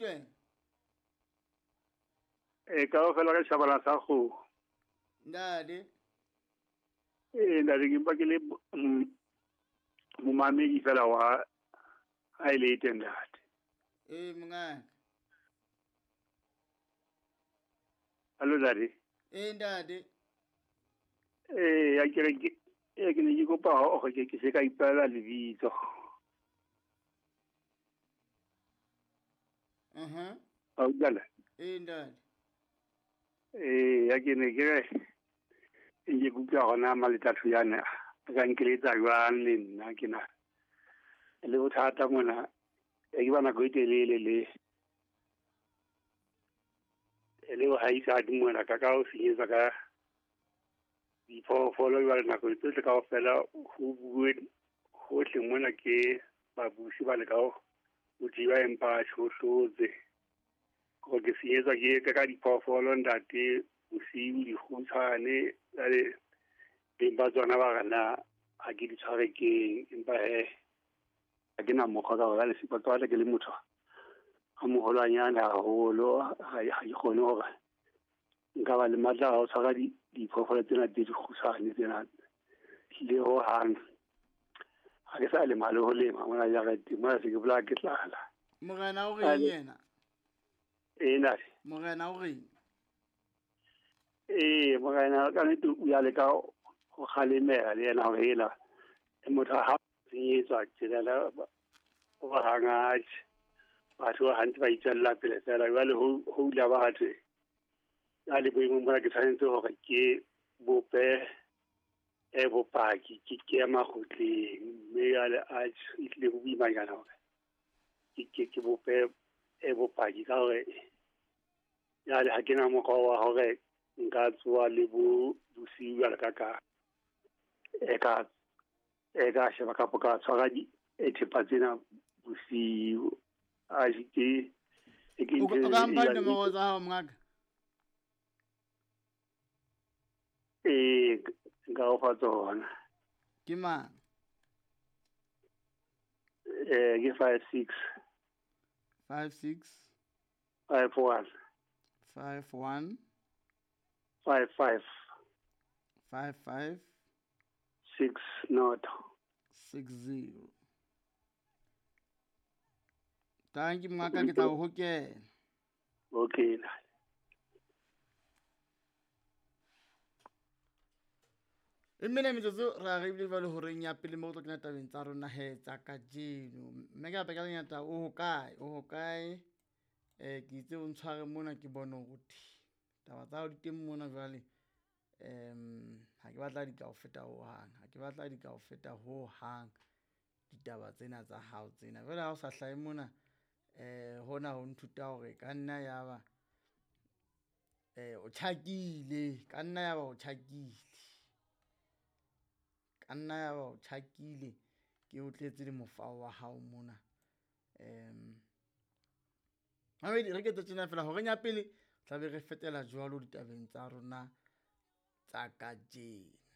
Le wena? E ka ofela ka shabala sa go. Ntate. E ntate ke mpa ke le momamedi fela wa ha e le teng ntate. Ee mongaka. Hallo ntate. Ee ntate. Ee ya ke re ke ne ke kopa hore ke se ka ipeela lebitso. A utlwala? Ee ntate. Ee ya ke ne ke re ke kutlwa gona Maletlatho yana a ka nkeletsa jwang le nna ke na le bothata mona e ke ba nako e telele le le bohaisadi mona ka ho senyetsa ka diphoofolo jwale nako tsohle kaofela ho bue hohle mona ke babusi ba leka ho thiba empa ho hlotse. Gore ke senyetswa ke ka diphoofolo ntate bosiu dikgutshwane jwale beng ba tsona ba re na ha ke di tshware keng empa he ha ke na mokgwa ka hore jwale ke batla ke le motho a moholwanyane haholo ha ke kgone hore nka ba le matla a ho tshwara diphoofolo tsena tse dikgutshwane tsena le hohang. Ha ke sa lema le ho lema mona jareteng mona se ke bolaya ke tlala. Morena o reng yena? Ee ntate. Morena o reng? Ee morena ka nnete o ya leka ho kgalemela le yena hore ela motho ha senyetswa tjena o hang atjhe batho ba hantse ba itswella pele fela jwale ho hula ba thwe ya le boemong bona ke tshwanetse hore ke bope e bopaki ke ke ya makgotleng mme jwale atjhe e tlile ho boimanyana hore ke bope e bopaki ka hore jwale ha ke na mokgwa wa hore nka tsoha le bo bosiu jwale ka e ka sheba kapa ka tshwara thepa tsena bosiu. Atjhe ke O ka mpha dinomoro tsa hao mongaka? Ee nka o fa tsona. Ke mang? Ke 56 56 51 51 55 55 60 60. Thank you mongaka, ke tla o hokela. Okay. E mmele metsotso ra re ebile jwale horeng ya pele mo re tlo kena tabeng tsa rona he tsa kajeno. Mme ka peka lenyata o hokae? O hokae? Ke itse o ntshware mona ke bone hore taba tsa hao di teng mona jwale. Ha ke batla di ka o feta hohang. Ha ke batla di ka o feta hohang ditaba tsena tsa hao tsena. Jwale ha o sa hlahe mona hona ho nthuta hore ka nna ya ba o tjhakile, ka nna ya ba o tjhakile. Ka nna ya ba o tjhakile ke o tletse le mofao wa hao mona. Mamedi re ke tjena fela horeng ya pele tla be re fetela jwalo ditabeng tsa rona tsa kajeno.